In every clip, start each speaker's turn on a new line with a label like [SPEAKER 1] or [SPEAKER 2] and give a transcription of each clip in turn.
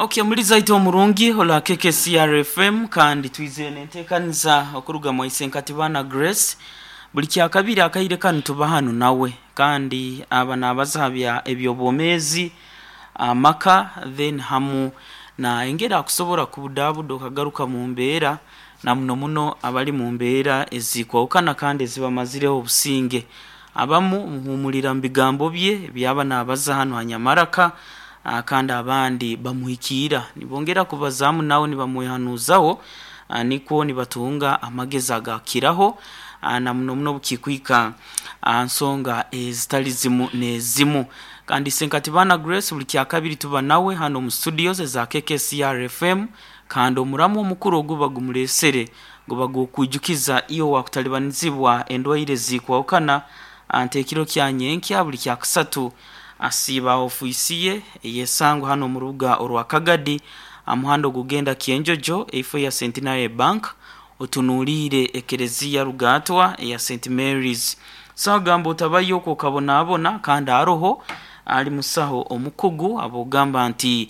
[SPEAKER 1] Okay, muliza ite omurungi ola KKCR FM, kandi twizire nentekaniza okuruga mwaise Nkatibana Grace. Buli kyakabiri akaire kanu tuba hanu nawe, kandi aba nabaza bya ebyobwomezi, amaka, then hamu na engeri akusobora kubudabuda okagaruka mu mbeera, na muno muno abali mu mbeera ezikwahukana kandi ezibamazireho obusinge. Abamu muhumulira mu bigambo bye byaba nabaza hanu hanyamaraka, kandi abandi bamuhikiira nibongera kubazaamu nawe nibamwehanuzaho, nikwo nibatunga amagezi agakiraho, na muno muno obukikwika nsonga ezitali zimu n'ezimu. Kandi Senkatibana Grace buli kyakabiri tuba nawe hano omu studios eza KKCR FM, kandi omuramu omukuru oguba gumuresere guba gwokwijukiza iwe wakutalibanizibwa endwaire ezikwahukana, nti ekiro kya nyenkya buli kyakusatu asiiba ofiisi ye eyesangwa hano omu rubuga orwa Kagadi, amuhanda ogugenda Kyenjojo, eifo ya Centenary Bank, otunuliire ekereziya Rugatwa eya St Mary's. So agamba otabayo okwo okabonabona, kandi aroho ali musaho omukugu abogamba nti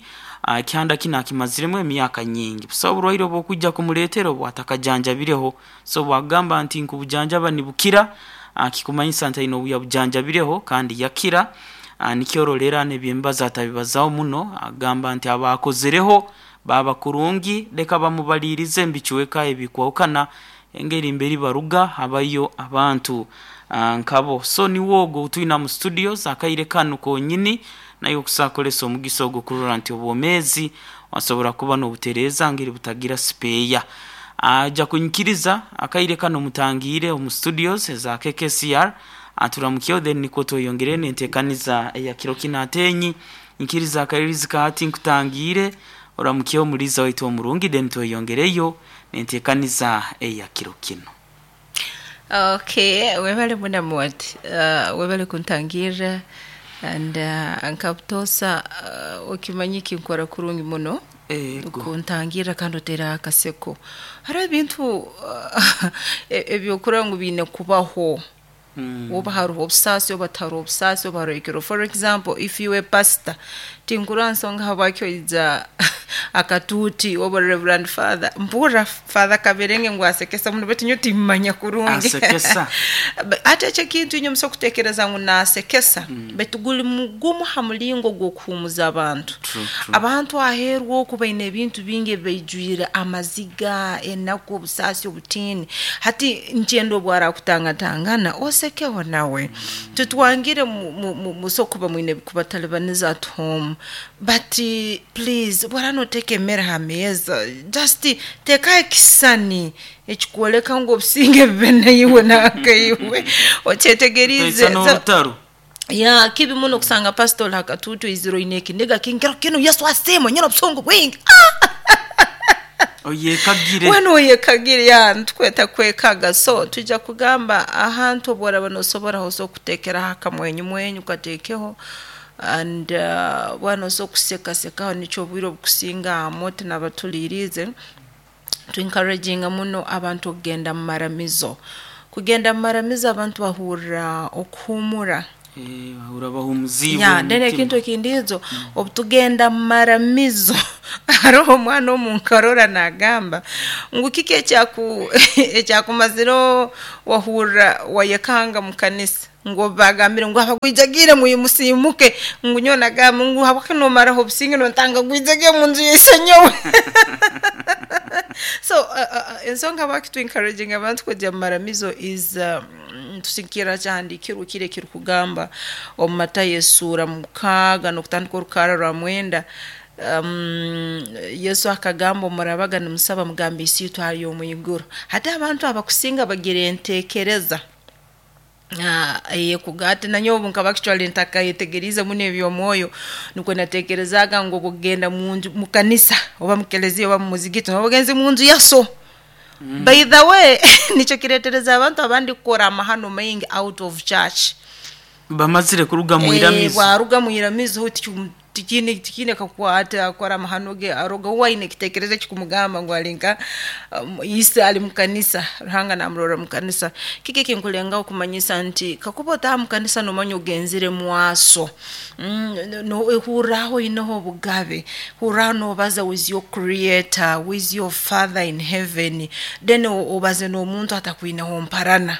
[SPEAKER 1] ekihanda kinu akimaziremu emyaka nyingi, busaho oburwaire obwokwija kumuleetera obwatakajanjabireho. So bwagamba nti nkubujanjaba nibukira, kikumanyisa nti aine obuyabujanjabireho kandi yakira. Nikyorolera n'ebyembazo atabibazaho muno, agamba nti abakozereho baba kurungi, leka bamubalirize mubicweka ebikwahukana engeri mberi baruga habayo abantu nkabo. So niwe ogwo twina mu studios akaire kanu konyini, naye okusakolesa omugisa ogwo kurora nti obwomezi wasobora kuba n'obutereeza ngeri butagira sipeeya. Aja kunyikiriza akaire kano mutangiire omu studios eza KKCR, aturamukyeho, then nikwo tweyongere n'enteekaniza eya kiro kinu. Atenyi nkiriza akairirizi ka hati nkutangiire oramukyeho omuliza waitu omurungi, then tweyongereyo n'enteekaniza eya kiro kinu.
[SPEAKER 2] Okay, webale muna Muwati. Webale kuntangirra and nkabutosa okimanyi kinkora kurungi muno kuntangirra kandi oteera akaseko. Hariho ebintu ebyokurora ngu biine kubaho. Oba haroho obusaasi oba tiharoho obusaasi oba haroho ekiro. For example, if you a pastor, tinkurora nsonga habwaki oija akatuuti oba ori reverand father. Mpurra Father Kaberenge ngu asekesa muno baitu nyowe timmanya kurungi.
[SPEAKER 1] Asekesa.
[SPEAKER 2] Ate ekyo ekintu inywe musobora kutekereza ngu nasekesa, baitu guli gumu ha mulingo gw'okuhuumuza abantu.
[SPEAKER 1] True, true.
[SPEAKER 2] Abantu aheeru oku baine ebintu bingi ebibaijwire amaziga, enaku, obusaasi, obutiini. Hati nkyenda obu arakutangatangana osekeho nawe. Titwangire musobora kuba mwine ebikubatalibaniza at home, but please bw'oraaba nooteeka emere ha meeza, just teekaho ekisisani ekikwoleka ngu obusinge bube naiwe nankaiwe, okyetegeriize.
[SPEAKER 1] Otaisa n'orutaro.
[SPEAKER 2] Yeah, kibi muno kusanga pastor ori hakatuutu oizire oine ekiniga kingi, kiro kinu Yesu asiimwe, nyine obusungu bwingi.
[SPEAKER 1] Oyekagire.
[SPEAKER 2] Weena oyekagire, yeah, nitukweta kwekaga. So twija kugamba ahantu obu oraba nosobora hosa okuteekeraho akamwenyumwenyu okateekeho and waaba nosobora kusekasekaho nikyo obwire obukusinga Amooti n'abatuliiriize tu encouraginga muno abantu okugenda mu maramizo. Kugenda mu maramizo abantu bahurra okuhuumura.
[SPEAKER 1] Bahurra bahuumuziibwe
[SPEAKER 2] Yeah,
[SPEAKER 1] omu
[SPEAKER 2] then
[SPEAKER 1] mitima.
[SPEAKER 2] ekintu ekindiijo, obu tugenda mu maramizo haroho omwana omu nkarora nagamba ngu kiki ekyakumazire wahurra wayekanga mu kanisa, ngu obu bagambire ngu abagwijagiire mwimusiimuke, ngu nyowe nagamba ngu habwaki nomaraho obusinge nontanga gwijagiire omu nju ya isenyowe. So ensonga habwaki tu encouraginga abantu kwija mu maramizo is nitusigikirra ha kyahandiikirwe kiri ekirukugamba omu Matayo esuura 6 n'okutandika orukarra rwa 9, Yesu akagamba obu murabaga nimusaba mugambe Isiitwe ali omu iguru. Hati abantu abakusinga bagira enteekereza ey'ekuga ati nanyowe obu nkaba actually ntakayetegeriize muno eby'omwoyo, nukwo nateekerezaaga ngu obu okugenda munju mu kanisa oba mu keleziya oba mu muzigiti nooba ogenze munju ya so. By the way nikyo kireetereza abantu abandi kukora amahano maingi out of church.
[SPEAKER 1] Bamazire kuruga mu iramizo.
[SPEAKER 2] Bwaruga mu iramizo Tikiine kakwate, akora amahano ge, aroga we aine ekiteekerezo ekikumugamba ngu ali nka ise ali mukanisa, Ruhanga namurora mukanisa. Kiki ekinkulengaho kumanyisa nti kakuba otaaha mukanisa nomanya ogenzire mwaso, ohurraho oineho obugabe, hurraho nobaza with your creator, with your father in heaven, then obaze n'omuntu atakwineho mparana.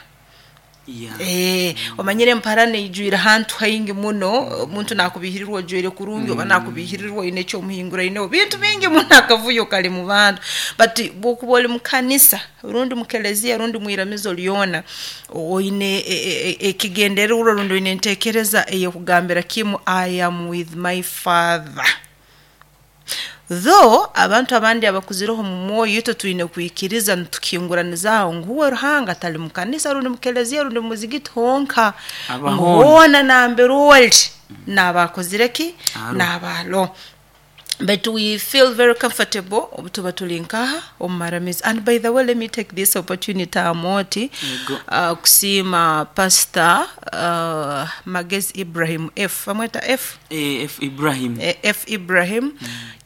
[SPEAKER 2] Omanyire emparana eijwire ahantu haingi muno, omuntu nakubihirirwa ojwaire kurungi oba nakubihirirwa oine ekyomuhinguraineho, bintu bingi muno akavuyo kali mu bantu. But bwokuba ori mukanisa rundi mukeleziya rundi mwiramizo ryona, oine ekigendererwa rundi oine entekereza eyekugambira kimu I am with my father. Though abantu abandi abakuzireho omu mwoyo itwe twine kwikiriza nitukihinguranizaho ngu huwe Ruhanga tali mukanisa rundi mukeleziya rundi mumuzigiti honka,
[SPEAKER 1] Aba
[SPEAKER 2] ngu
[SPEAKER 1] hoona.
[SPEAKER 2] hoona nambere oli naaba akozire ki?
[SPEAKER 1] Aro.
[SPEAKER 2] Naaba alo. But we feel very comfortable obu tuba turi nkaha omu maramizo. And by the way, let me take this opportunity Amooti
[SPEAKER 1] Yego.
[SPEAKER 2] Kusiima Pastor Magezi Ibrahim F. Bamweta F?
[SPEAKER 1] F Ibrahim.
[SPEAKER 2] F Ibrahim.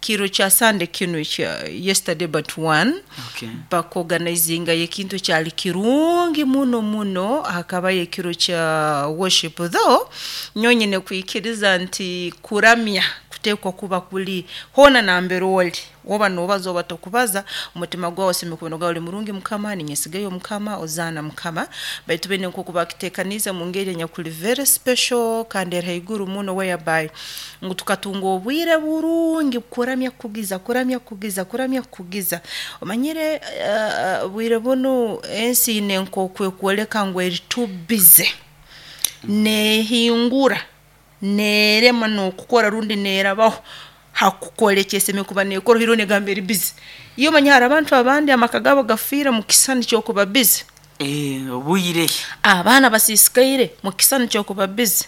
[SPEAKER 2] Kiro kya Sunday kinu ekya yesterday but one. Bakoganizinga ekintu ekyali kirungi muno muno, hakabayo ekiro kya worship, though nyowe nyine kwikiriza nti kuramya kutekwa kuba kuri hoona nambere ori, oba nobaza oba tokubaza, omutima gwawe osemeriire kuba nogamba ori murungi Mukama, ninyesigayo Mukama, ozaana Mukama. Baitu baine nk'oku bakitekaniize omu ngeri enyakuri very special kandi eri haiguru muno, whereby ngu tukatunga obwire burungi kuramya kukugiza, kuramya kukugiza, kuramya kukugiza. Omanyire obwire bunu ensi ine nk'oku ekwoleka ngu eri too busy, nehingura, nerema n'okukora rundi nerabaho hakukora eki esemeriire kuba nekora, oihireho negamba eri busy. Iwe omanyire haro abantu abandi amaka gaabo gafiire mu kisisani ky'okuba busy.
[SPEAKER 1] Obwire.
[SPEAKER 2] Abaana basiisikaire mu kisisani ky'okuba busy.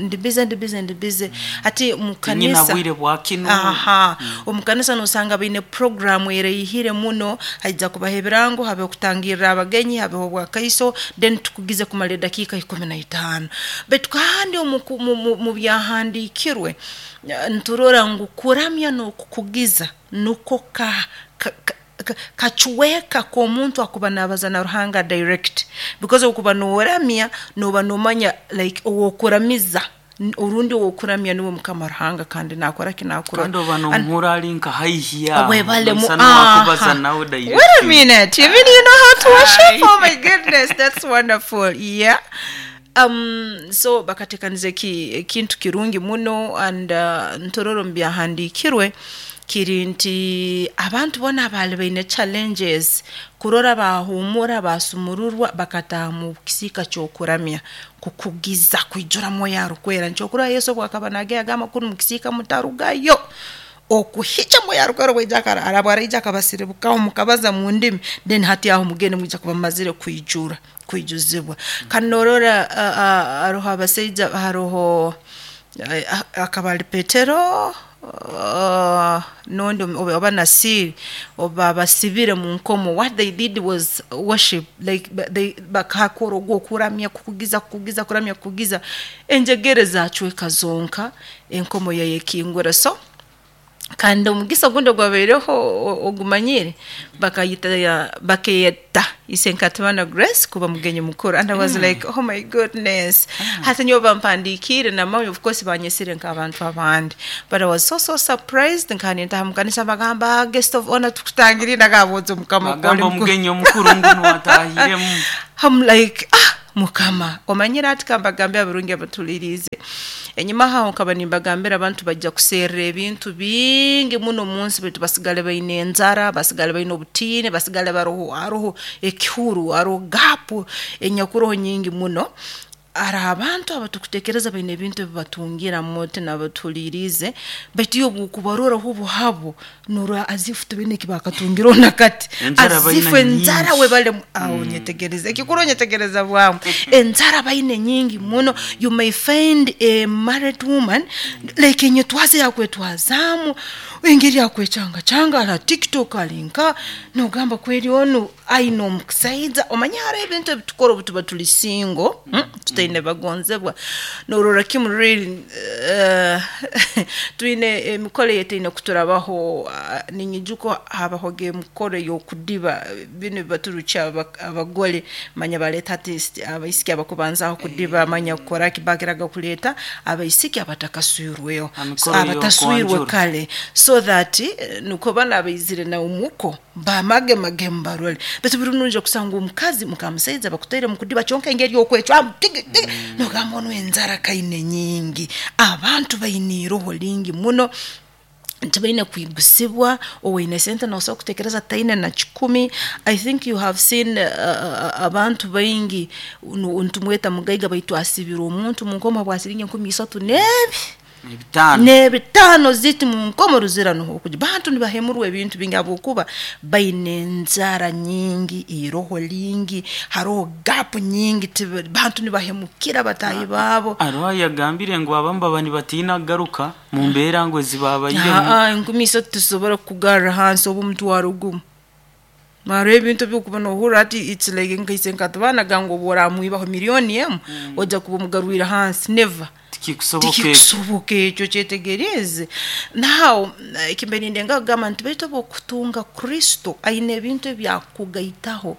[SPEAKER 2] Ndi busy, ndi busy, ndi busy. Hati
[SPEAKER 1] Tinyina
[SPEAKER 2] mukanisa
[SPEAKER 1] bwire bwa kinu.
[SPEAKER 2] Aha, omu kanisa nosanga baine programu eraihire muno, haija kubaho ebirango, habeho kutangirra abagenyi, habeho obwakaiso, then tukugize kumara edakiika 15. Baitu kandi omu byahandiikirwe niturora ngu kuramya n'okukugiza nuko kacweka k'omuntu akuba nabaza na Ruhanga direct, because obu okuba noramya noba nomanya like ow'okuramiza orundi ow'okuramya nuwe Mukama Ruhanga kandi nakora ki? Nakurora.
[SPEAKER 1] Kandi oba nomuhurra ali nka haihi aho.
[SPEAKER 2] Webale mu
[SPEAKER 1] Noisana wakubaza nawe direct.
[SPEAKER 2] Wait a minute, you mean you know how to worship? Oh my goodness, that's wonderful. Yeah. So bakatekaniza ekintu kirungi muno, and ntorora omu byahandiikirwe kiri nti abantu boona abaali baine challenges kurora bahuumura basumururwa bakataaha mu kisiika ky'okuramya kukugiza kwijura Mwoyo Arukwera. Nikyokurora Yesu obu akaba nagenda agamba kunu mukisiika mutarugayo okuhikya Mwoyo Arukwera obu araba araija akabasiribukaho mukabaza mu ndimi, then hati aho mugende mwija kuba mumazire kwijura kwijuzibwa. Kandi norora haroho abasaija, haroho akaba ali Petero n'ondi oba Nasiri obu babasibire mu nkomo, what they did was worship, like they bakakora ogw'okuramya kukugiza kukugiza kuramya kukugiza, enjegere zacweka zonka, enkomo yayekingura. So kandi omugisa ogundi ogwabaireho ogumanyire, bakayita bakeyeta Isenkatibana Grace kuba mugenyi mukuru, and I was like, oh my goodness. Hati nyowe bampandikiire na mami, of course banyesire nk'abantu abandi, but I was so so surprised. Nkaba nintaha mu kanisa bagamba guest of honor tukutangiriire, nagamba Mukama
[SPEAKER 1] Bagamba omugenyi omukuru ngu nuwe atahiremu.
[SPEAKER 2] I'm like, ah, Mukama omanyire. Ati kambagambira abirungi abatuliriize enyuma haho, nkaba nimbagambira abantu bajja kuserra ebintu bingi muno mu nsi, baitu basigale baine enjara, basigale baine obutiini, basigale baroho haroho ekihuru, haroho gap enyakuroho nyingi muno. Hariho abantu abatukutekereza baine ebintu ebi batungira muti nabatuhuliriize, baitu iwe obu okubarora hubo habo norora as if tibaine eki bakatungireho nakati.
[SPEAKER 1] Enjara
[SPEAKER 2] As
[SPEAKER 1] baina
[SPEAKER 2] if enjara
[SPEAKER 1] nyingi.
[SPEAKER 2] Webale aho nyetegereza ekikuru, onyetegereza bwangu, enjara baine nyingi muno. You may find a married woman, like enyetwaza yakwetwazaamu. Engeri akwecangacanga ala TikTok alinka nogamba kweri onu aine omusaija. Omanye hariho ebintu ebitukora obu tuba tuli single, tutaine bagonzebwa, norora kimu really twine emikoro eyetaine kuturabaho. Ninyijuka habahoga emikoro ey'okudiba binu baturukya abagole, manya baleeta hati abaisiki abakubanzaho kudiba, manya kukoraki, bakiraga kuleeta abaisiki abatakaswirweho,
[SPEAKER 1] Ha mikoro
[SPEAKER 2] abataswirwe
[SPEAKER 1] y'okwanjura.
[SPEAKER 2] Kale so that nukwo banu abaizire na omuko bamage magemu barole. Baitu biri nungi okusanga omukazi mukamusaija bakutaire mukudiba, kyonka engeri okwecwamu tigi tigi, nogamba onu enjara kaine nyingi. Abantu baine iroho lingi muno, tibaine kwigusibwa. Owaine sente nosobora kutekereza taine na 100. I think you have seen abantu baingi nitumweta mugaiga baitu asibire omuntu munkomo habwa siringi 3000 n'ebi
[SPEAKER 1] 5.
[SPEAKER 2] N'ebitaano ziti munkomo ruzira nuho okuja. Bantu nibahemurwa ebintu bingi habwokuba baine enjara nyingi, iroho lingi, haroho gap nyingi, bantu nibahemukira bataahi baabo.
[SPEAKER 1] Haroho yagambire ngu abamu baba nibatiina kugaruka mu mbeera ngu ezibabairemu.
[SPEAKER 2] 3000 tizisobora kukugarra hansi obu omutwaro gumu. Hariho ebintu ebyokuba nohurra hati it's like nkaise nkatubanaga ngu obu oramwibaho 1 million ojja kuba omugarwire hansi, never.
[SPEAKER 1] Tikikusoboka ekyo.
[SPEAKER 2] Tikikusoboka ekyo, kyetegerize. Now ekimbe nindenga kugamba nti baitu obwokutunga Kristo aine ebintu ebyakugaitaho.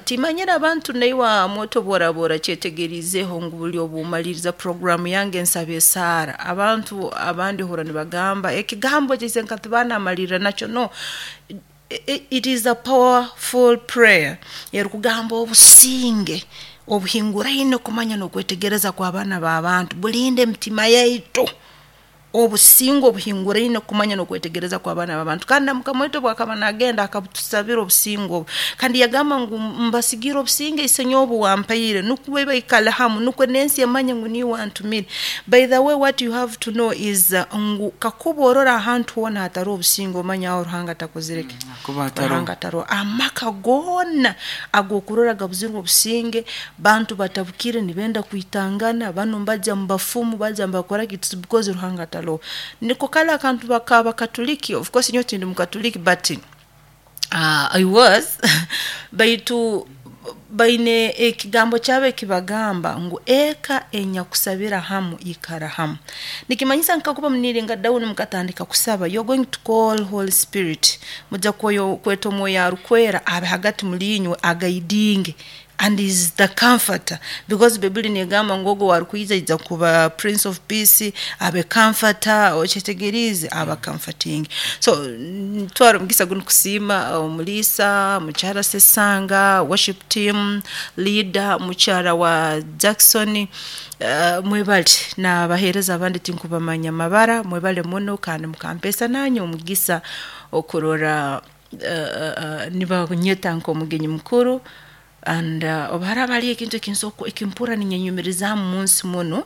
[SPEAKER 2] Timanyire abantu naiwe moto bworaba orakyetegerizeho ngu buli obu maliriza programu yange nsaba esaara. Abantu abandi ohurra nibagamba ekigambo kyaise nkatubana amalirra nakyo. No, it is a powerful prayer erukugamba obusinge obuhinguraine kumanya n'okwetegereza kw'abaana b'abantu bulinde emitima yaitu, obusinge obuhinguraine kumanya n'okwetegereza kw'abaana b'abantu. Kandi na Mukama waitu obu akaba nagenda akabutusabira obusinge obu, kandi yagamba ngu mbasigiire obusinge isenyowe obu wampaire, nukwo baikale hamu, nukwo n'ensi emanye ngu niiwe wantumire. By the way, what you have to know is ngu kakuba orora ahantu hoona hatari obusinge, omanye aho Ruhanga atakozire ki?
[SPEAKER 1] Kuba hatariho.
[SPEAKER 2] Ruhanga ataroho. Amaka goona ag'okurora gabuzirwe obusinge, bantu batabukire nibenda kwitangana, banu mbajya mu bafumu, bajya mbakora ki, it's because Ruhanga ataroho. Niko kale akantu bakabakatuliki, of course nyowe tindi mukatuliki, but I was, baitu baine ekigambo kyabo ekibagamba ngu eka enyakusabira hamu ikara hamu. Nikimanyisa nkakuba muniringa down mukatandika kusaba, you're going to call Holy Spirit, mujja kweta omwoyo arukwera abe hagati muli inywe aguidinge, and is the comforter, because Baibuli negamba ngu ogu owarukwija aija kuba Prince of Peace, abe comforter, okyetegeriize, aba comforting. So ntwara omugisa gunu kusiima omuliisa mukyara Sesanga, worship team leader mukyara wa Jackson, mwebale, n'abaheereza abandi tinkubamanya amabara, mwebale muno kandi mukampeesa nanye omugisa okurora nibanyeta nk'omugenyi mukuru. And obu haraba hariyo ekintu ekimpurra ninyenyumirizaamu munsi munu,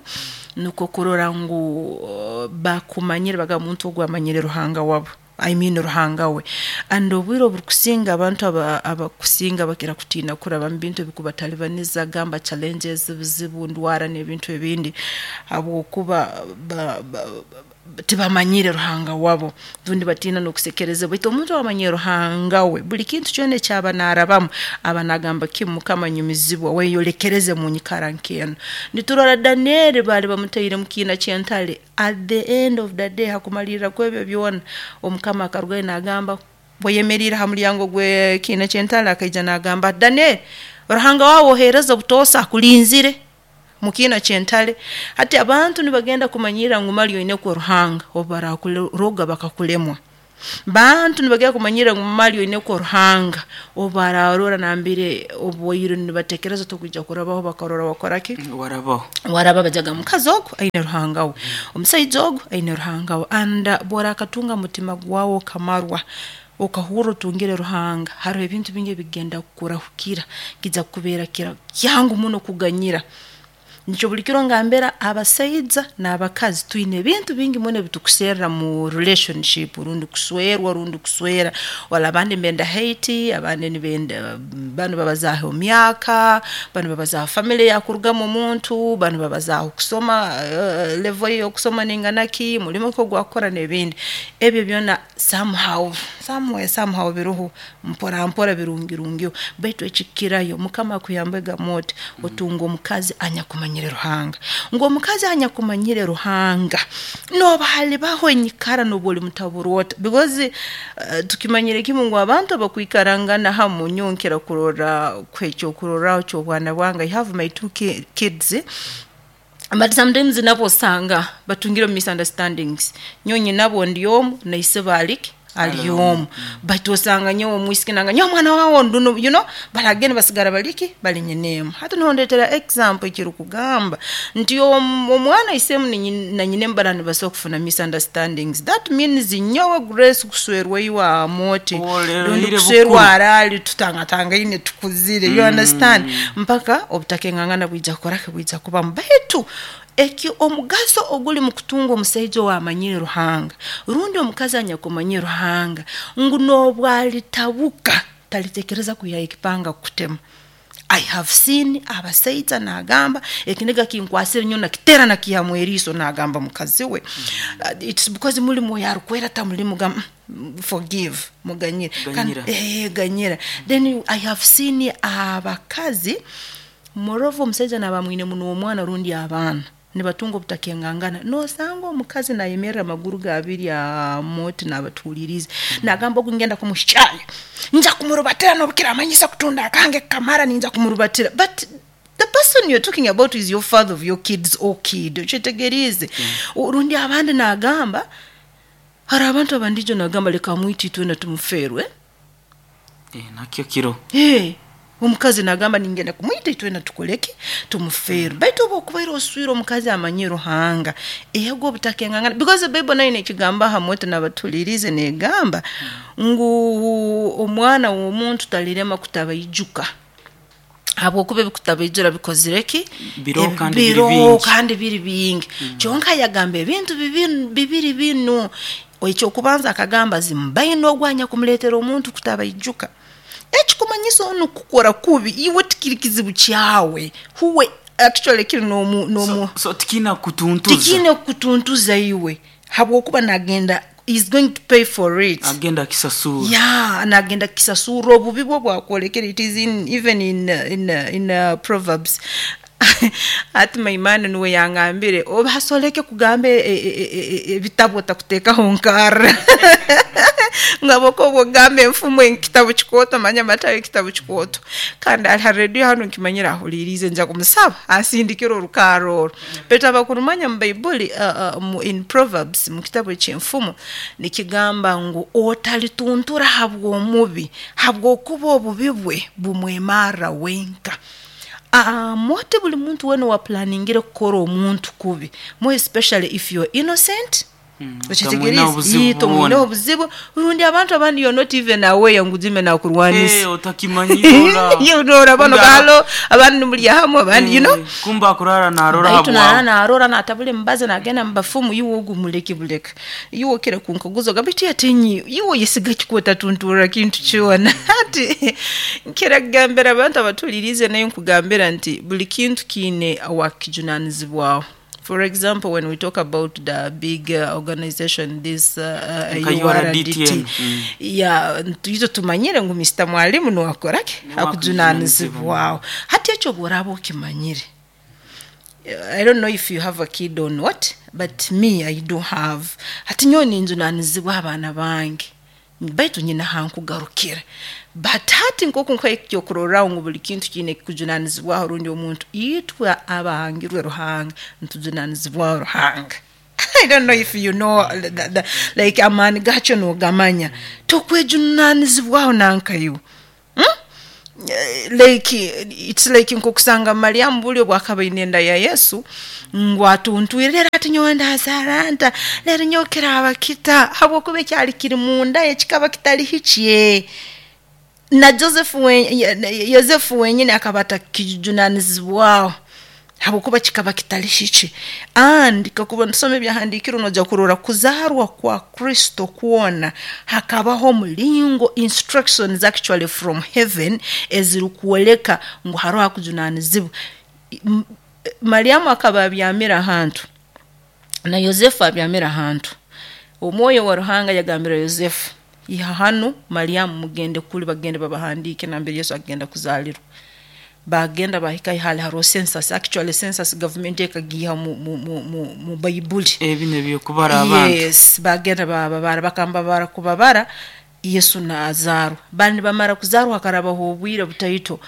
[SPEAKER 2] nukwo kurora ngu bakumanyire, bagamba omuntu ogu amanyire Ruhanga wabo, I mean Ruhanga we. And obwire oburukusinga abantu abakusinga bakira kutiina kuraba mu bintu ebikubatalibaniza, gamba challenges, bizibu, ndwara n'ebintu ebindi, habwokuba tibamanyire Ruhanga wabo, rundi batiina n'okusekerezebwa. Baitu omuntu owamanyire Ruhanga we, buli kintu kyona ekyaba naarabamu aba nagamba kimu, Mukama nyumizibwa, weyolekereze mu nyikara nk'enu. Niturora Danieri baali bamutaire mu kiina ky'entale, at the end of the day, hakumalirra kw'ebyo byona, omukama akarugayo nagamba, bweyemeriire ha mulyango gw'ekiina ky'entale, akaija nagamba, Danieri, Ruhanga wawe oheereza obutoosa akulinzire mu kiina ky'entale. Hati abantu nibagenda kumanyirra ngu mali oinekwo Ruhanga obu barakuroga bakakulemwa. Bantu nibagenda kumanyirra ngu mali oinekwo Ruhanga obu bararora nambere oboire nibatekereza tokwija kurabaho, bakarora wakora ki?
[SPEAKER 1] Warabaho.
[SPEAKER 2] Waraba, bajaga mukazi ogu aine Ruhanga we, omusaija ogu aine Ruhanga we. And bworakatunga mutima gwawe okamarwa, okahurra otungire Ruhanga, haroho ebintu bingi ebigenda kukurahukira, kija kukubeera kyangu muno kuganyira. Nikyo buli kiro ngambira abasaija n'abakazi, twine ebintu bingi muno ebitukuserra mu relationship, rundi kuswerwa rundi kuswera. Wala abandi nibenda height, abandi nibenda, banu babazaaho emyaka, banu babazaaho family eyakurugamu omuntu, banu babazaaho kusoma, level ye y'okusoma ningana ki, mulimo ki ogwakukora n'ebindi. Ebyo byona somehow, somewhere, somehow biroho mpora mpora birungirungiho, baitu ekikukirayo Mukama akuyambege oti otunge omukazi anyakumanyire Ruhanga. Ngu omukazi anyakumanyire Ruhanga, nooba halibaho enyikara nooba oli mutabura ota, because tukimanyire kimu ngu abantu abakwikarangana hamu, nyowe nkira kurora kuha ekyokurorraho ky'obwana bwange, I have my two kids, but sometimes nabo osanga batungire misunderstandings. Nyowe nyinabo ndi omu, na isebo ali ki? Ali omu. Baitu osanga nyowe omwisiki nangamba nyowe omwana waawe ondunu, you know, but again basigara bali ki? Bali nyineemu. Hati nondetera example ekirukugamba nti omwana isemu na nyinemu baraba nibasobora kufuna misunderstandings, that means nyowe Grace kuswerwa iwe Amooti, rundi
[SPEAKER 1] Olerire
[SPEAKER 2] kuswerwa
[SPEAKER 1] bukuru.
[SPEAKER 2] Araali tutangatangaine tukuzire, you understand? Mpaka obutakengangana bwija kukora ki? Bwija kubamu. Baitu eki omugaso oguli mu kutunga omusaija ow'amanyire Ruhanga, rundi omukazi anyakumanyire Ruhanga, ngu n'obu alitabuka, talitekereza kwihayo ekipanga kukutema. I have seen abasaija naagamba ekiniga kinkwasire nyowe nakitera nakiihamu eriiso naagamba mukazi we. It's because muli mwoyo arukwera tamuli mugamba forgive, muganyire.
[SPEAKER 1] Ganyira.
[SPEAKER 2] Ganyira. Then I have seen abakazi, moreover omusaija naaba amwinemu n'omwana rundi abaana, nibatunga obutakengangana, noosanga omukazi naayemerra amaguru ge abiri Amooti naabatuhuliiriize, naagamba ogu ngenda kumuhikyayo, nja kumurubatira n'obu kiramanyisa kutunda akange kamara ninja kumurubatira. But the person you're talking about is your father of your kids or kid, okyetegeriize? Rundi abandi naagamba, haro abantu abandiijo naagamba leka amwite itwena tumuferwe.
[SPEAKER 1] Nakyo kiro.
[SPEAKER 2] Hey, omukazi nagamba ningenda kumwita itwena tukole ki? Tumuferwe. Baitu obu okubaire oswire omukazi amanyire Ruhanga, ego obutakengangana, because the Bible nayo nekigamba hamwe tunabatuhuliriize, negamba ngu omwana w'omuntu talirema kutabaijuka, habwokuba ebikutabaijura bikozire ki?
[SPEAKER 1] Biroho kandi biri
[SPEAKER 2] Biroho
[SPEAKER 1] bingi.
[SPEAKER 2] Kandi biri bingi. Kyonka yagamba ebintu bibiri binu. Ekyokubanza akagamba zimbaine ogu anyakumuleetera omuntu kutabaijuka. Ekikumanyisa onu kukora kubi, iwe tikiri kizibu kyawe, huwe actually kiri n'omu n'omu
[SPEAKER 1] So tikiina kutuntuza.
[SPEAKER 2] Tikiine kukutuntuza iwe, habwokuba nagenda, is going to pay for it.
[SPEAKER 1] Agenda akisasuura.
[SPEAKER 2] Ya, nagenda kukisasurra obubi bwe bwakwolekere. It is in, even in Proverbs. Hati maimani nuwe yangambire obasoleke kugamba ebitabu otakuteekaho nkarra, ngabwokuba obwokugamba enfumo ekitabu kikooto, manya Matayo ekitabu kikooto, kandi ali ha radio hanu, nkimanyire ahuliiriize, nja kumusaba ansindikire orukarra oru. Baitu abakurumanya mu Baibuli, in Proverbs, mu kitabu eky'enfumo, nikigamba ngu otalituntura habw'omubi, habwokuba obubi bwe bumwemarra wenka. Moti buli muntu weena owaplaningire kukora omuntu kubi, more especially if you're innocent,
[SPEAKER 1] Otamwinaho
[SPEAKER 2] okyetegeriize?
[SPEAKER 1] obuzibu
[SPEAKER 2] Tomwineho
[SPEAKER 1] bwona.
[SPEAKER 2] obuzibu, rundi abantu abandi you're not even aware ngu jime nakurwanisa.
[SPEAKER 1] Otakimanyire ora.
[SPEAKER 2] Norora bano
[SPEAKER 1] Kumbe ara-
[SPEAKER 2] galo, abandi nimulya hamu, abandi, you know.
[SPEAKER 1] Kumbe akurara narora
[SPEAKER 2] Baitu narara
[SPEAKER 1] habwawe.
[SPEAKER 2] narora natabura emibazi nagenda mubafumu, iwe ogu muleke buleka. Iwe okira kunkaguza ogamba baitu yatinyi, iwe oyesiga ki kwotatunturra kintu kyona? Hati nkira kugambira abantu abatuhuliriize, nayo nkugambira nti buli kintu kiine awakukijunanizibwaho. For example, when we talk about the big organization, this
[SPEAKER 1] Nka
[SPEAKER 2] URDT,
[SPEAKER 1] URDTN.
[SPEAKER 2] Ya itwe tumanyire ngu Mr. Mwalimu nuwe akora ki?
[SPEAKER 1] Nuwe
[SPEAKER 2] Akujunanizibwaho. Hati ekyo obworaaba okimanyire, I don't know if you have a kid or not, but me I do have. Hati nyowe ninjunanizibwa abaana bange, baitu nyina hankugarukira. But hati nk'oku nkuhayo ekyokurorraho ngu buli kintu kiine kukujunanizibwaho, rundi omuntu, itwe abahangirwe Ruhanga nitujunanizibwaho Ruhanga. I don't know if you know like amaani gakyo nogamanya, tokwejunanizibwaho nankaiwe. Like it's like nkokusanga Mariamu buli obwakaba aine enda ya Yesu ngu atuntwire rero ati nyowe ndazaara nta, rero nyowe kiraba kita, habwokuba ekyali kiri munda ye kikaba kitali hikye. Na Joseph we, Yosefu wenyini akaba atakijunanizibwaho habwokuba kikaba kitali hiki. And kakuba nitusoma ebyahandiikirwe, noja kurora kuzaarwa kwa Kristo kwona hakabaho omulingo, instructions actually from heaven ezirukwoleka ngu haroho akujunanizibwa. Mariamu akaba abyamire ahantu na Yosefu abyamire ahantu. Omwoyo wa Ruhanga yagambira Yosefu, iha hanu Mariamu mugende kuli bagende babahandiike nambere Yesu agenda kuzaalirwa. Bagenda bahika hali haroho census. Actually census government ekagiiha mu Baibuli.
[SPEAKER 1] Ebi nebyokubara abantu.
[SPEAKER 2] Yes, bagenda bababara, bakambabara kubabara Yesu nazaarwa. Bali nibamara kuzarwa hakarabaho obwire butaito.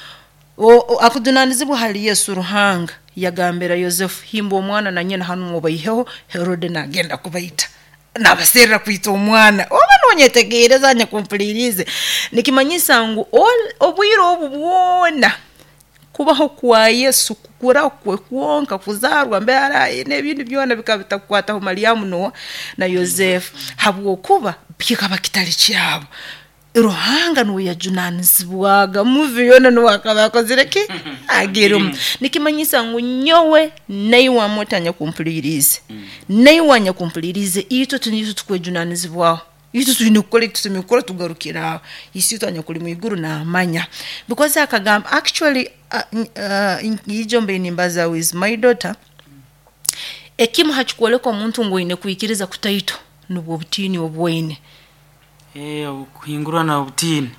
[SPEAKER 2] Akujunanizibwa hali Yesu Ruhanga yagambira Yosefu, himba omwana na nyina hanu mubaiheho, Herode nagenda kubaita. Nabaserra kwita omwana. Oba nonyetegereza nyakumpulirize. Nikimanyisa ngu obwire obu bwona kubaho kwa Yesu, kukura kwe kwonka, kuzarwa mbera n'ebindi byona bikaba bitakukwataho Mariamu Noa na Yosefu, habwokuba kikaba kitali kyabo. Ruhanga nuwe yajunanizibwaga muvi yona nuwe akaba akozire ki agirimu. Nikimanyisa ngu nyowe naiwe amota nyakumpulirize, naiwe anyakumpulirize, itwe tuniitwe tukwejunanizibwaho, itwe twine kukora eki tusemeriire kukora tugarukire aho. Isiitwe anyakuli mwiguru naamanya, because akagamba actually ijo mbaire nimbaza with my daughter, ekimu hakikwoleka omuntu ngu oine kwikiriza kutaito nubwo obutiini obwoine.
[SPEAKER 1] Okuhingurana obutiini.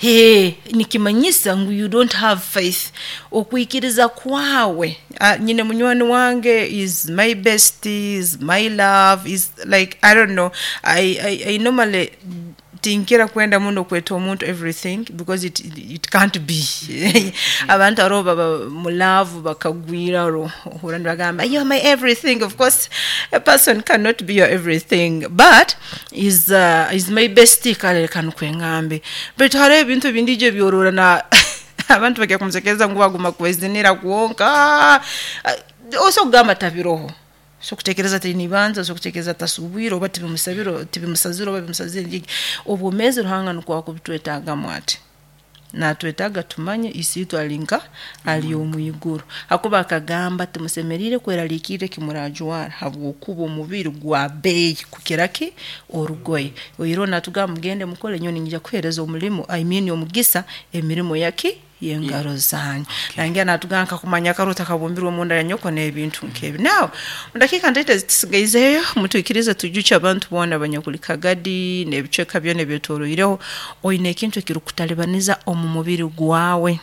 [SPEAKER 2] Nikimanyisa ngu you don't have faith. Okwikiriza kwawe, nyine munywani wange is my best, is my love, is like I don't know. I normally tinkira kwenda muno kweta omuntu everything because it can't be. Abantu aroho baba mu love bakagwiraro, ohurra nibagamba you are my everything. Of course a person cannot be your everything, but is my best. Kale reka nukwe ngambe, baitu hariho ebintu ebindi ijo ebyorora na abantu bagya kumusekereza ngu baguma kwezinira kwonka. Osobola kugamba tabiroho, so kutekereza taine ibanja, so kutekereza tasubwire oba tibimusabire, tibimusazire oba bimusazire. Obwomeezi Ruhanga nukwo akubutwetaagamu ati. Natwetaaga tumanye isiitwe ali nka ali omu iguru, hakuba akagamba timusemeriire kweraliikirra eki murajwara, habwokuba omubiri gwa beeyi kukira ki orugoye. Oihireho natugamba mugende mukole, nyowe ninyija kuheereza omulimo, I mean omugisa emirimo yaki y'engaro zanyu. Nangera natugamba nkakumanya kara otakabumbirwe omunda ya nyoko n'ebintu nk'ebi. Now mu dakiika ntaito ezitusigaizeyo, mutwikirize twijukye abantu boona abanyakuli Kagadi n'ebicweka byona ebyetoroireho, oine ekintu ekirukutalibaniza omu mubiri gwawe.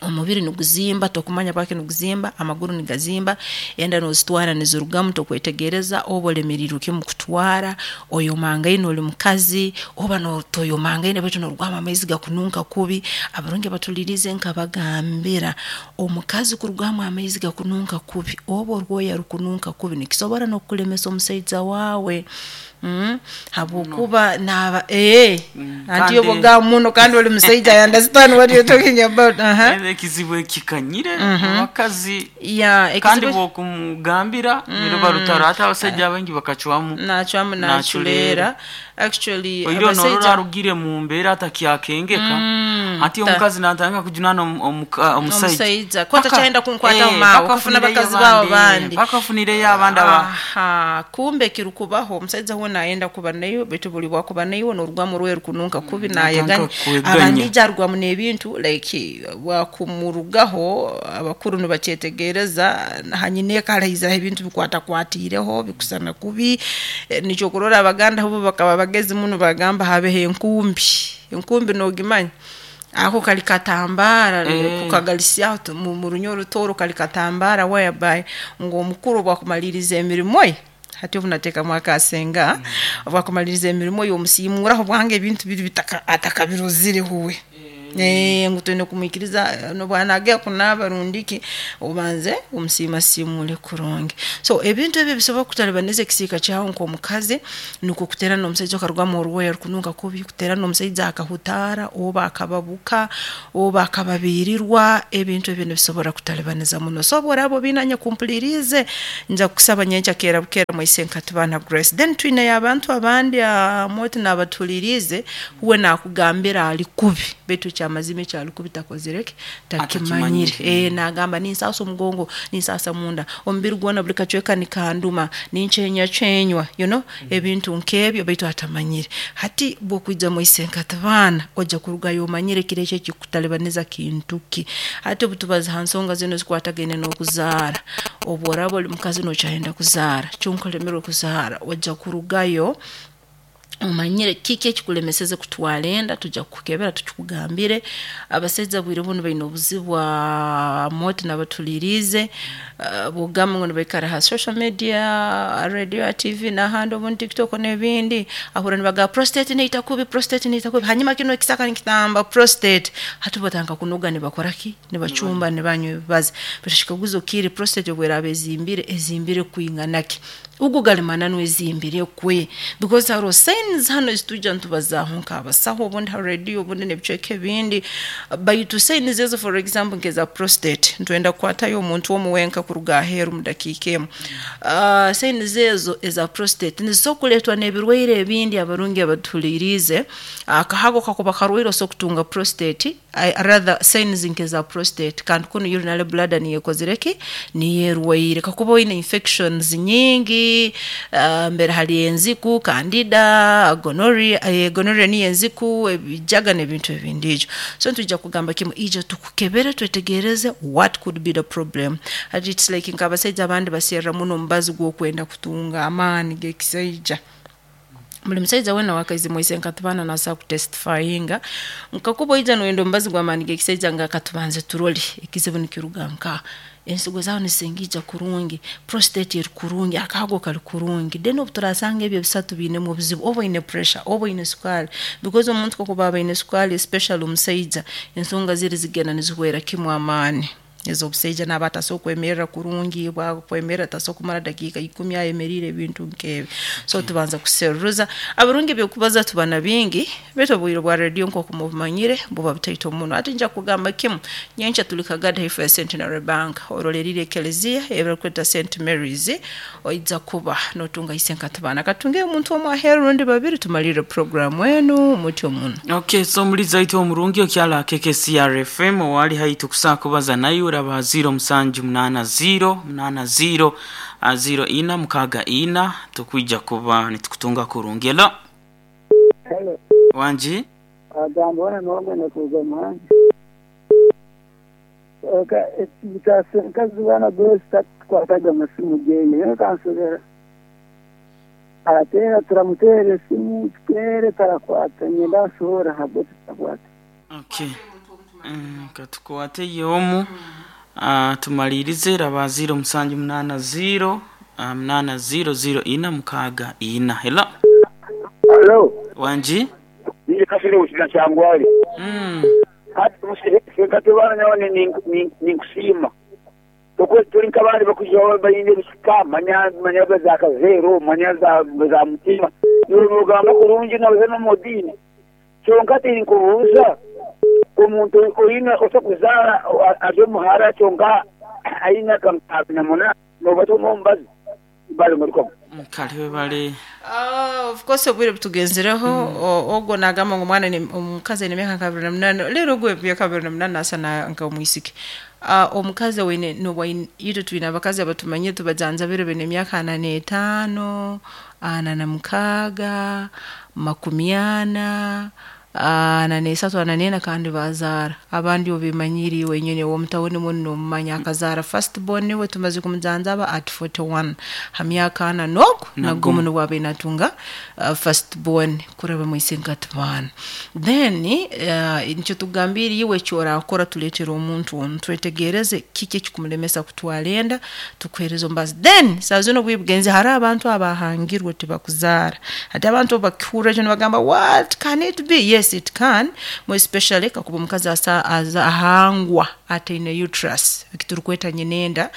[SPEAKER 2] Omubiri niguzimba, tokumanya habwaki niguzimba, amaguru nigazimba, enda nozitwara nizirugamu tokwetegereza, oba olemeriirwe kimu kutwara, oyomangaine oli mukazi, oba toyomangaine baitu norugwamu amaizi gakununka kubi. Abarungi abatuliriize nkabagambira, omukazi kurugwamu amaizi gakununka kubi oba orwoya rukununka kubi nikisobora n'okukulemesa omusaija waawe, habwokuba naaba anti obogamba muno kandi oli musaija, I understand what you're talking about.
[SPEAKER 1] Ekizibu ekikanyire abakazi, kandi bwokumugambira niruba rutaro. Hati abasaija abaingi bakacwamu
[SPEAKER 2] nacwamu naculeera. Actually
[SPEAKER 1] oihireho norora arugire mu mbeera atakyakengeka, hati omukazi natandika kujunaana omusaija
[SPEAKER 2] omusaija ko takyayenda kunkwataho maawe kufuna bakazi baabo bandi,
[SPEAKER 1] paka ofunireyo abandi
[SPEAKER 2] aba. Kumbe ekirukubaho omusaija we nayenda kuba naiwe, baitu buli bwakuba naiwe norugwamu orwoya rukununka kubi, nayeganya. Abandi ija arugwamu n'ebintu like bwakumurugaho, abakuru nibakyetegereza, hanyina haraiziraho ebintu bikwatakwatiireho bikusana kubi. Nikyo okurora Abaganda bo bakaba bagezi muno, bagamba habeho enkumbi. Enkumbi nogimanya? Ako kali katambaara, kukagalisyaho mu runyoro orutooro, kali katambaara whereby ngu omukuru obu akumaliriza emirimo ye, hati obu nateekamu akasenga, obu akumaliriza emirimo ye omusiimuuraho bwangu ebintu biri atakabirozireho uwe. Ngu twine kumwikiriza nobu anagenda kunaaba rundi ki, obanze omusiimasiimuule kurungi. So ebintu ebi ebisobora kukutalibaniza ekisiika kyawe nk'omukazi, nukwo kuteerana n'omusaija okarugamu orwoya rukununka kubi, kuteerana n'omusaija akahutaara oba akababuka oba akababiirirwa, ebintu ebi nibisobora kutalibaniza muno. So obu oraaba obiine anyakumpuliriize, nja kukusaba nyenkya keera bukeera mwaise Nkatibana Grace. Then twineyo abantu abandi mwoti naabatuhuliriize, uwe naakugambira ali kubi, baitu ekyamazima eki ali kubi takozire ki? Takimanyire. Naagamba ninsaasa omugongo, ninsaasa munda, omubiri gwona buli kacweka nikanduma, nincwenyacwenywa, you know, ebintu nk'ebyo baitu atamanyire. Hati bw'okwija mwaise Nkatibana, ojja kurugayo omanyire kiro eki ekikutalibaniza kintu ki. Hati obu tubaza ha nsonga zinu ezikwatagaine n'okuzaara, obu oraaba oli mukazi nokyayenda kuzaara, kyonka olemerwe kuzaara, ojja kurugayo. Omanyire kiki ekikulemeseze kutwara enda, tujja kukukebera tukikugambire. Abasaija bwire bunu baine obuzibu bwa moti nabatuliirize, bwogamba ngu nibaikara ha social media, ha radio, ha TV n'ahandi obundi TikTok n'ebindi, ahurra nibagamba prostate neita kubi, prostate neita kubi, hanyuma kinu ekisaka nikitamba prostate, hati batandika kunoga nibakora ki, nibacumba nibanywa ebibazi. Baitu ekikaguzo kiri, prostate obu eraaba ezimbire, ezimbire kwingana ki? Ogu gali mananu ezimbire kwe, because haroho signs hanu ezitwija nitubazaaho nk'abasaho obundi ha radio obundi n'ebicweka ebindi, baitu signs ezo for example nk'eza prostate, nitwenda kukwatayo omuntu omu wenka kuruga aheeru mu dakiika emu. Signs ezo eza prostate nizisobora kuleetwa n'ebirwaire ebindi abarungi abatuhuliiriize, akahago kakuba karwaire osobola kutunga prostate, rather signs nk'eza prostate kandi kunu urinary bladder niyo ekozire ki, niyo erwaire. Kakuba oine infections nyingi, mbere hali enziku, candida, gonorrhea, gonorrhea niyo enziku, ebijaga n'ebintu ebindi ekyo. So nitwija kugamba kimu, ija tukukebere twetegereze what could be the problem. Hati it's like nk'abasaija abandi baserra muno omubazi gw'okwenda kutunga amaani g'ekisaija. Buli musaija weena ow'akaizi mwaise nkatubana naasobora kutestifyinga ngu kakuba oija noyenda omubazi gw'amaani g'ekisaija ngu katubanze turole ekizibu nikiruga nkaha, ensigo zaawe nizisengiija kurungi, prostate eri kurungi, akahago kali kurungi, then obu turaasanga ebi ebisatu biinemu obuzibu, oba oine pressure, oba oine sukaali, because omuntu kakuba aba aine sukaali especially omusaija, ensonga ziri zigenda nizihwera kimu amaani. Ez'obusaija naaba atasobora kwemerra kurungi, obu akwemerra tasobora kumara dakiika ikumi ayemeriire ebintu nk'ebi. So tubanza kuseruruza. Abarungi eby'okubaza tuba na bingi, baitu obwire bwa radio nk'oku mubumanyire buba butaito muno. Hati nja kugamba kimu, nyenkya tuli Kagadi haifu ya Centenary Bank, oroleriire ekelezia ei barukweta St Mary's, oija kuba nootunga Isenkatubana. Katungeyo omuntu omu aheeru rundi babiri tumalirre puroguraamu enu mutyo muno.
[SPEAKER 1] Okay, so omulizi waitu omurungi okyali aha KKCR FM owali haihi tukusobola kubaza naiwe oraba 0780 80 04 64 tukwija kuba nitukutunga kurungi. Hello.
[SPEAKER 3] Hello.
[SPEAKER 1] Wangi?
[SPEAKER 3] Agamba ona n'omwe kuruga muhanga. Nkazi bana Grace takukwataga amasimu geye naye kansobera. Aratera turamutera esimu tutere tarakwata ngenda nsohora habwo tutakwata.
[SPEAKER 1] Okay. Katukwate yomu tumalirize raba 0780 80 04 64. Hello.
[SPEAKER 4] Hello.
[SPEAKER 1] Wangi?
[SPEAKER 4] Ndi kasiri usina kyangwali. Hati Senkatubana nyaone ninkusiima. Tukwe tuli nk'abandi bakujaho bayine ebisika manya manya za kazero manya za za mutima. Nogamba kurungi nawe no mu dini. Kyonka tinkubuuza omuntu oyina osokuzaara ari omuhara kyonka ayina 58 noba tomubazi bali muri kongo.
[SPEAKER 1] Kale bale.
[SPEAKER 2] Of course obwire butugenzireho, ogwo nagamba ngu omwana omukazi aine emyaka nka 28, leero ogwo emyaka 28 asa nka omwisiki. Omukazi oine nobwa itwe twine abakazi abatumanyire tubajanjabire baine emyaka 45, 46, 40, 43, 44 kandi bazaara. Abandi obimanyire wenyini ow'omutawuni muno nomumanya akazaara first born we tumaze kumujanjaba at 41 ha myaka ana n'ogu nagumu nibwo abaire natunga first born kuraba mu Isenkatubana. Then nikyo tugambire iwe ekyorakora tuleetere omuntu onu twetegereze kiki ekikumulemesa kutwara enda tukuheereze omubazi. Then saaha zinu obwire bugenzi hariho abantu abahangirwe tibakuzaara. Hati abantu obu bakihurra ekyo nibagamba what can it be? Yes it can, more especially kakuba omukazi asa ahangwa ataine uterus ekiturukweta nyinenda,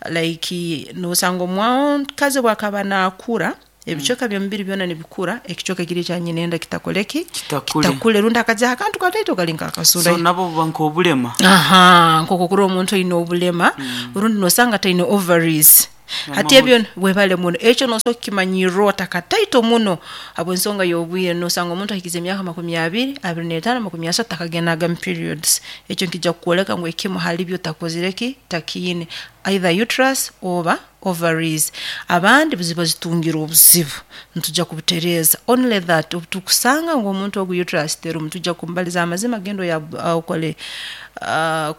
[SPEAKER 2] like nosanga omukazi bwakaba naakura ebicweka by'omubiri byona nibikura, ekicweka kiri ekya nyinenda kitakole ki?
[SPEAKER 1] Kitakule.
[SPEAKER 2] Kitakule rundi akajaho akantu kataito kali nk'akasura.
[SPEAKER 1] So nabo buba nk'obulema.
[SPEAKER 2] Aha, nk'oku okura omuntu aine obulema, rundi nosanga taine ovaries. Hati ebyo webale muno, ekyo nosobola kukimanyirra ota kataito muno habw'ensonga y'obwire, nosanga omuntu ahikize emyaka 20, 25, 30 takagendaga mu periods. Ekyo nikija kukwoleka ngu ekimu hali byo takozire ki, takiine, either uterus oba Ovaries abandi ziba zitungire obuzibu, nitujja kubutereeza. Only that obutukusanga ngu omuntu ogu uterus terumu, tujja kumubaliza amazima, genda okole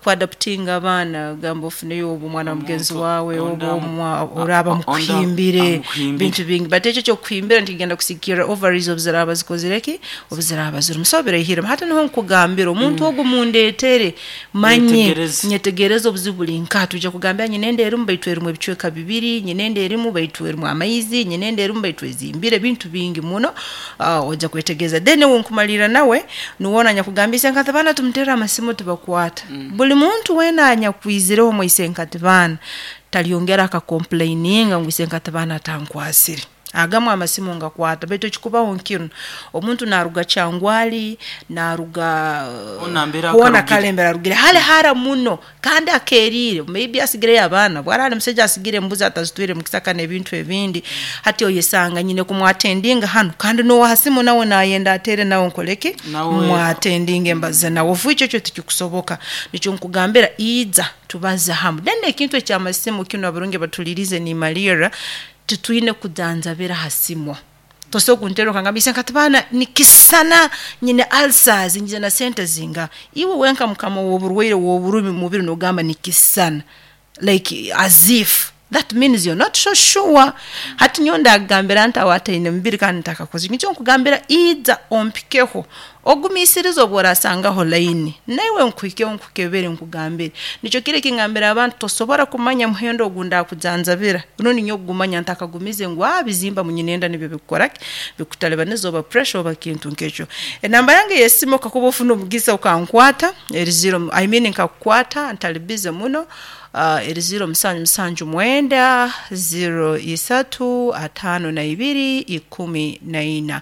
[SPEAKER 2] kuadaptinga abaana, gamba ofuneyo oba omwana wa mugenzi
[SPEAKER 1] Omuntu
[SPEAKER 2] wawe
[SPEAKER 1] onda
[SPEAKER 2] oba oraaba
[SPEAKER 1] onda
[SPEAKER 2] amukuhimbire,
[SPEAKER 1] amukuhimbire.
[SPEAKER 2] Bintu bingi, but ekyo ekyokuhimbira ntikigenda kusigikirra ovaries obuziraaba zikozire ki, obuziraaba zirimu. So biraihiremu hati niho nkugambira omuntu ogu mundeetere manye,
[SPEAKER 1] Nyetegereze.
[SPEAKER 2] Nyetegereze obuzibu buli nkaha. Twija kugambira nyine enda erimu baitu erimu ebicweka bibiri, nyine enda erimu baitu erimu amaizi, nyine enda erimu baitu ezimbire, bintu bingi muno. Ojja kwetegereza. Then wenkumalirra nawe nuwe anyakugambire isenkati baana tumuterre amasimu tibakwata. Buli muntu weena anyakwizireho mwa isenkati baana talyongera akacomplaininga ngu isenkati baana atankwasire. Agamu amasimu ngakwata, baitu ekikubaho nkinu, omuntu naruga Kyangwali, naruga
[SPEAKER 1] Hoona mbere
[SPEAKER 2] hoona
[SPEAKER 1] akarugire.
[SPEAKER 2] Kale mbere arugire hali hara muno kandi akeriire, maybe asigireyo abaana, bwara ali musaija asigire embuzi atazitwire mukisaka n'ebintu ebindi. Hati oyesanga nyine kumwatendinga hanu, kandi n'owa simu nawe nayenda atere nawe nkoleki,
[SPEAKER 1] Nawe
[SPEAKER 2] mwatendinga embaze nawe, ofu ekyo kyo tikikusoboka. Nikyo nkugambira ija tubaze hamu. Then ekintu ekyamasimu kinu, abarungi batulirize, nimalirra titwine kujanjabira ha simu. Tosobola kuntera okangamba isenkati baana nikisana nyine ulcers nyine na sente zinga, iwe wenka mukama w'oburwaire w'oburumi mubiri nogamba nikisana, like as if that means you're not so sure. Hati nyowe ndakugambira nti awo ataine mubiri kandi ntakakozire. Nikyo nkugambira ija ompikeho, ogumiisirize obu orasangaho layini naiwe nkuhikeho nkukebere nkugambire. Nikyo kiro ekingambira abantu, tosobora kumanya muhendo ogu ndakujanjabira rundi nyowe kugumanya ntakagumize ngu bizimba munyinenda nibyo bikukoraki, bikutalibaniza oba pressure oba kintu nkekyo. Enamba yange ey'esimu kakuba ofuna omugisa okankwata eri zero, I mean nkakukwata ntali busy muno, eri 0779 03 52 14,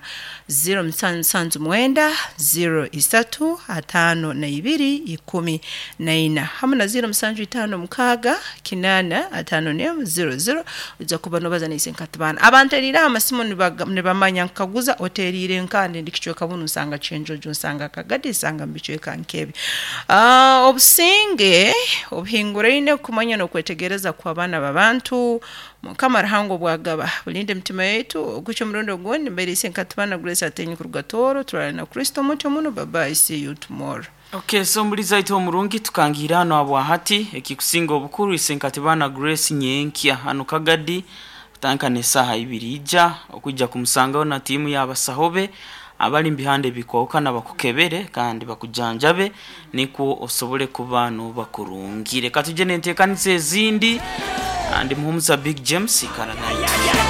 [SPEAKER 2] 0779 03 52 14, hamu na 0756 8 51 00. Ojja kuba nobaza na isenkati baana. Abanteriireho amasimu nibamanya nkaguza oteriire nkandi ndi kicweka bunu, nsanga Kyenjojo, nsanga Kagadi, nsanga mu bicweka nkebi. Obusinge obuhinguraine kumanya n'okwetegereza kw'abaana b'abantu, Mukama Ruhanga obwagaba bulinde emitima yaitu okuhikya omurundi ogundi. Mbaire isenkati baana Grace Atenyi kuruga Tooro. Turale na Kristo mutyo muno. Bye bye, see you tomorrow.
[SPEAKER 1] Okay, so mbuliza itwe omurungi tukangira hano habwa hati ekikusinga obukuru isenkati baana Grace nyenkya hano Kagadi kutandika n'esaaha ibiri, ija okwijja kumusangaho na tiimu y'abasaho be abali mu bihanda ebikwahukana bakukebere kandi bakujanjabe nikwo osobole kuba noba kurungi. Reka tujye n'enteekaniza ezindi, kandi Muhumuza Big James ikara naitwe.